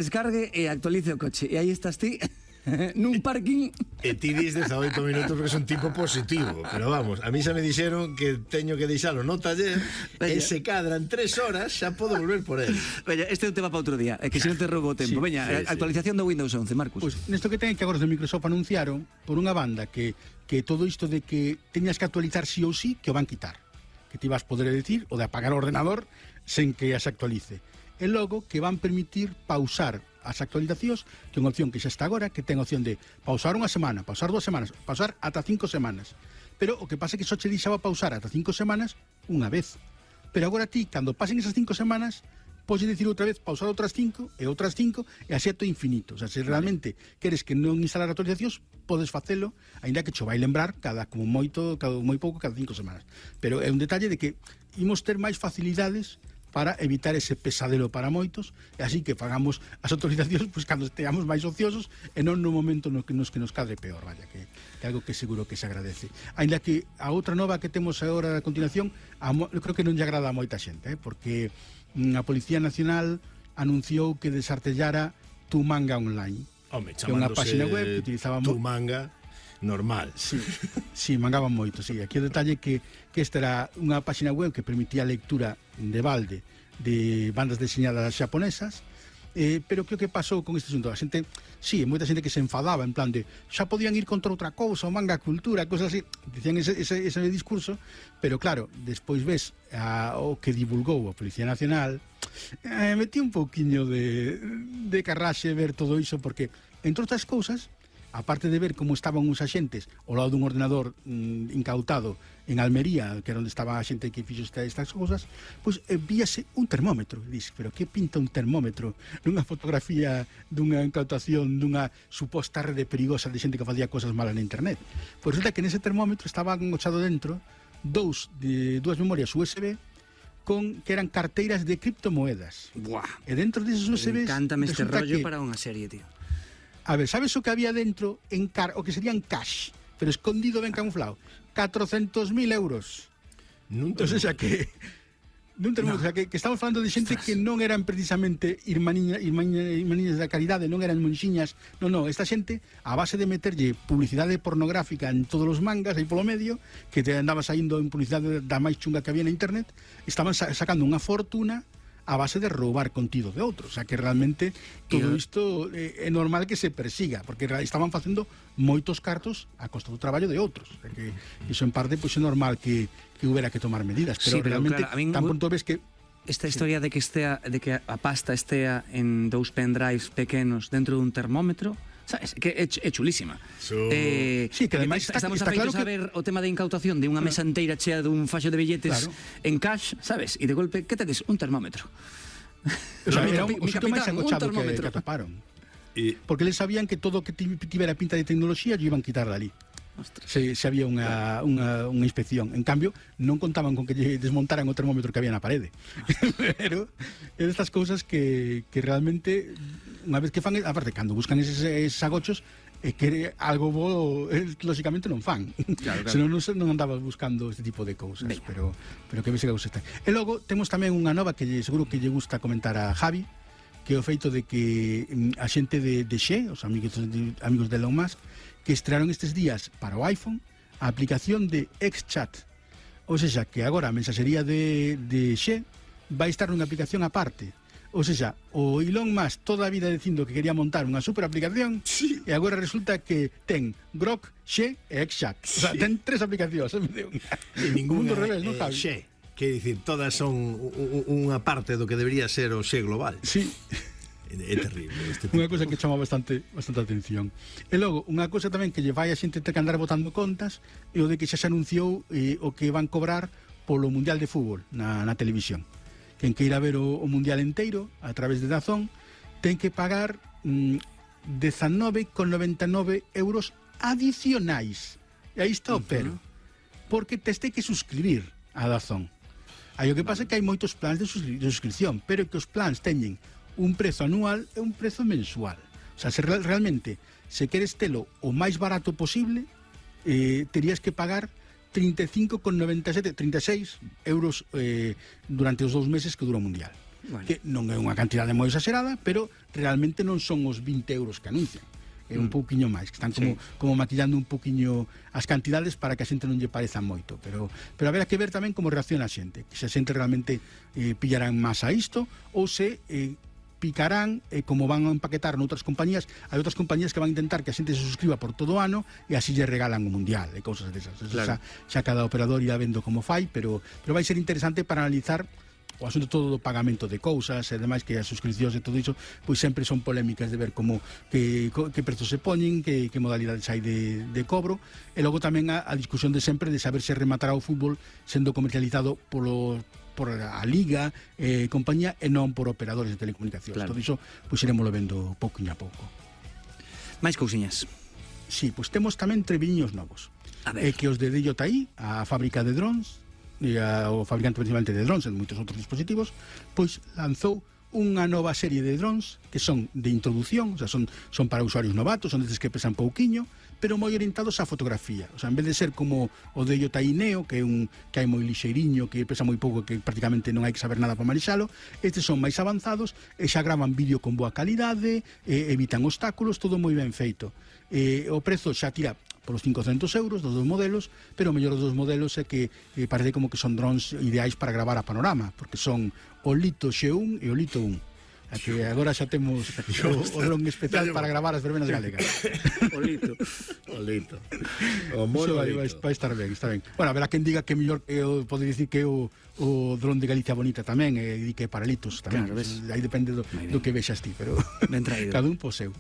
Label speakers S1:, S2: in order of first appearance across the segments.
S1: descargue e actualice o coche. E aí estás ti nun parking.
S2: E ti dis 18 minutos porque son tipo positivo. Pero vamos, a mí xa me dixeron que teño que deixalo no taller e se cadran 3 horas xa podo volver por él.
S1: Veña, este é un tema para outro día. É que se non te roubo o tempo. Veña, actualización do Windows 11, Marcos.
S3: Pois nesto que ten que agora de Microsoft anunciaron por unha banda que todo isto de que teñas que actualizar sí ou sí, que o van quitar. Que ti vas poder decir o de apagar o ordenador sen que se actualice. E logo que van permitir pausar as actualizacións, que é unha opción que xa está agora, que ten opción de pausar unha semana, pausar 2 semanas, pausar ata 5 semanas. Pero o que pasa é que só che deixaba pausar ata 5 semanas unha vez. Pero agora ti, cando pasen esas 5 semanas, podes dicir outra vez pausar outras 5 e outras 5 e así ato infinito. O sea, se realmente queres que non instalar actualizacións, podes facelo, aínda que cho vai lembrar como moi pouco cada 5 semanas. Pero é un detalle de que imos ter máis facilidades para evitar ese pesadelo para moitos, e así que fagamos as autorizacións pois cando esteamos máis ociosos e non no momento no que nos cadre peor, vaya, que é algo que seguro que se agradece. Ainda que a outra nova que temos agora a continuación, eu creo que non lle agrada a moita xente, porque a Policía Nacional anunciou que desartellara Tu Manga Online.
S2: Home,
S3: que é unha página web que utilizaba
S2: Tu Manga normal.
S3: Sí, mangaban moito, sí. Aquí o detalle que esta era unha página web que permitía a lectura de balde de bandas deseñadas xaponesas, pero que o que pasou con este asunto? A xente, sí, moita xente que se enfadaba en plan de xa podían ir contra outra cousa, o manga cultura, cosas así, dicían ese discurso, pero claro, despois ves o que divulgou a Policía Nacional, metí un pouquiño de carraxe ver todo iso, porque, entre outras cousas, aparte de ver como estaban os axentes ao lado dun ordenador incautado en Almería, que era onde estaba a xente que fixo estas cousas, pois víase un termómetro. E dix, pero que pinta un termómetro nunha fotografía dunha incautación dunha suposta rede perigosa de xente que facía cosas malas na internet? Pois resulta que nese termómetro estaban engochado dentro dúas memorias USB que eran carteiras de criptomoedas.
S1: Buah.
S3: E dentro deses USB
S1: encántame este rollo para unha serie, tío.
S3: A ver, sabes o que había dentro o que serían cash, pero escondido ben camuflado? 400.000 euros. O sea que estamos falando de xente que non eran precisamente irmaniñas da caridade, non eran monxiñas, non, esta xente, a base de meterlle publicidade pornográfica en todos os mangas aí polo medio, que te andaba saindo en publicidade da máis chunga que había na internet, estaban sacando unha fortuna a base de roubar contido de outros. O sea, que realmente todo isto é normal que se persiga, porque estaban facendo moitos cartos a costa do traballo de outros. O sea, que iso en parte pois é normal que houbera que tomar medidas, pero realmente claro, tan pronto ves que
S1: esta historia de que a pasta estea en 2 pendrives pequenos dentro dun termómetro, sabes, que é chulísima.
S3: Sí, que ademais
S1: estamos afeitos a ver o tema de incautación de unha mesa inteira chea dun faxo de billetes en cash, sabes? E de golpe, que tedes? Un termómetro.
S3: O sea, era un sitio máis agochado que atoparon. Porque eles sabían que todo o que tivera pinta de tecnoloxía lle iban quitar dali. Se había unha inspección. En cambio, non contaban con que desmontaran o termómetro que había na parede. Pero estas cousas que realmente, unha vez que fan, aparte, cando buscan eses agochos, que algo bo, lógicamente non fan. Claro. Senón non andabas buscando este tipo de cousas. Pero que ves que está. E logo temos tamén unha nova que seguro que lle gusta comentar a Javi, que é o feito de que a xente de Xe, os amigos de Elon Musk, que estrearon estes días para o iPhone a aplicación de XChat. Ou seja, que agora a mensaxería de Xe vai estar nunha aplicación aparte. Ou seja, o Elon Musk toda a vida dicindo que quería montar unha super aplicación, sí, e agora resulta que ten Grok, Xe e XChat. O sea, ten 3 aplicacións.
S2: E ningún revés, non, Javi? Xe, que dicir, todas son unha parte do que debería ser o Xe global.
S3: Sí.
S2: É terrible.
S3: Unha cosa que chama bastante atención. E logo, unha cosa tamén que lle vai a xente ter que andar botando contas é o de que xa se anunciou o que van cobrar polo Mundial de Fútbol na televisión. Quen queira ver o Mundial inteiro a través de DAZN ten que pagar 19,99 euros adicionais. E aí está o pero. Porque tes que suscribir a DAZN. Aí o que pasa é que hai moitos plans de suscripción, pero que os plans teñen un prezo anual e un prezo mensual. O sea, se realmente se queres telo o máis barato posible, terías que pagar 36 euros durante os 2 meses que dura o Mundial. que non é unha cantidade moi exagerada, pero realmente non son os 20 euros que anuncian. É un pouquiño máis, que están como maquillando un pouquiño as cantidades para que a xente non lle pareza moito, pero haberá que ver tamén como reacciona a xente, que se a xente realmente pillarán máis a isto ou se picarán como van a empaquetar noutras compañías. Hai outras compañías que van a intentar que a xente se suscriba por todo o ano e así lle regalan o mundial e cousas desas. Claro. Xa cada operador irá vendo como fai, pero vai ser interesante para analizar o asunto todo do pagamento de cousas e demais, que as suscripcións e todo iso pois sempre son polémicas de ver como que prezos se poñen, que modalidades hai de cobro, e logo tamén a discusión de sempre de saber se rematará o fútbol sendo comercializado por a Liga, compañía, e non por operadores de telecomunicacións. Claro. Todo iso pois iremoslo vendo pouquinho a pouco.
S1: Máis cousiñas.
S3: Sí, pois temos tamén treviños novos. Que os de DJI, a fábrica de drones, e o fabricante principalmente de drones e moitos outros dispositivos, pois lanzou unha nova serie de drones que son de introducción, o sea, son para usuarios novatos, son destes que pesan pouquiño, pero moi orientados á fotografía. O sea, en vez de ser como o de DJI Neo, que hai moi lixeiriño, que pesa moi pouco, que prácticamente non hai que saber nada para manexalo, estes son máis avanzados e xa gravan vídeo con boa calidade, evitan obstáculos, todo moi ben feito. O prezo xa tira polos 500 euros dos dos modelos, pero o mellor dos dos modelos é que parece como que son drones ideais para gravar a panorama, porque son o Lito X1 e o Lito 1. Que agora xa temos o dron especial para gravar as verbenas galegas.
S2: O Lito. O mono Lito.
S3: Vai estar ben, está ben. Bueno, haberá quen diga que mellor pode dicir que o dron de Galicia Bonita tamén, e que para Litos tamén. Claro, aí depende do que vexas ti, pero cada un po seu.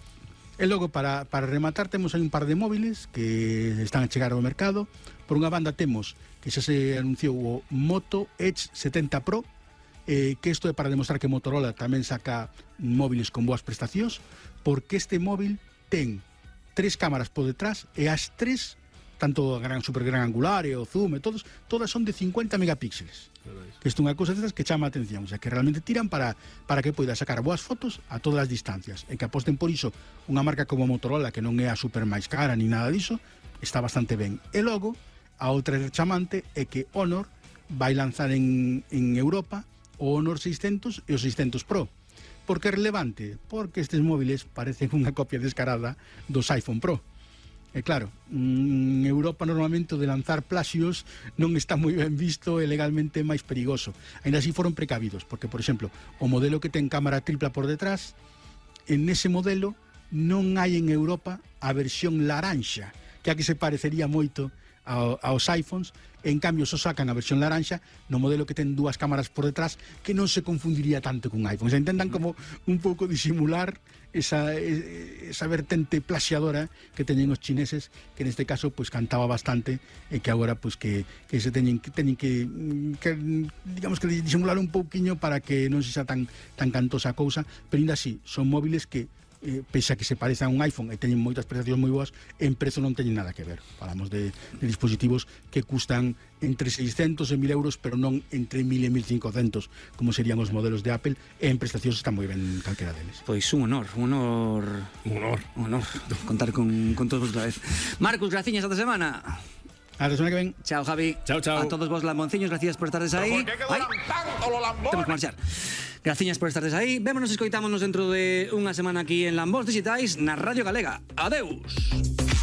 S3: E logo, para rematar, temos aí un par de móviles que están a chegar ao mercado. Por unha banda temos que xa se anunciou o Moto Edge 70 Pro, que isto é para demostrar que Motorola tamén saca móviles con boas prestacións, porque este móvil ten 3 cámaras por detrás e as 3, tanto a super gran angular e o zoom e todas son de 50 megapíxeles. Que isto é unha cousa destas que chama a atención, o sea, que realmente tiran para que poida sacar boas fotos a todas as distancias, e que aposten por iso unha marca como Motorola, que non é a super máis cara ni nada diso, está bastante ben. E logo, a outra chamante é que Honor vai lanzar en Europa o Honor 600 e o 600 Pro. Por que é relevante? Porque estes móviles parecen unha copia descarada dos iPhone Pro. E claro, en Europa normalmente o de lanzar plaxios non está moi ben visto e legalmente máis perigoso. Ainda así foron precavidos, porque, por exemplo, o modelo que ten cámara tripla por detrás, en ese modelo non hai en Europa a versión laranxa, que a que se parecería moito aos iPhones. En cambio, só sacan a versión laranxa no modelo que ten 2 cámaras por detrás, que non se confundiría tanto con iPhone. Se intentan como un pouco disimular esa vertente plaxiadora que teñen os chineses, que neste caso pois cantaba bastante, e que agora pois que se teñen que digamos que disimular un pouquiño para que non se xa tan cantosa a cousa, pero ainda así son móviles que pese a que se parece a un iPhone e teñen moitas prestacións moi boas, en prezo non teñen nada que ver. Falamos de dispositivos que custan entre 600 e 1000 euros, pero non entre 1000 e 1500, como serían os modelos de Apple, e en prestacións están moi ben calquera deles.
S1: Pois un honor contar con todos vos otra vez. Marcus, graciñas esta semana.
S3: Hasta la semana que ven.
S1: Chao, Javi.
S2: Chao.
S1: A todos vos lambonciños, gracias por estardes aí. Temos que marchar. Graciñas por estardes aí. Vémonos e escoitámonos dentro de unha semana aquí en Lambos Digitais, na Radio Galega. Adeus.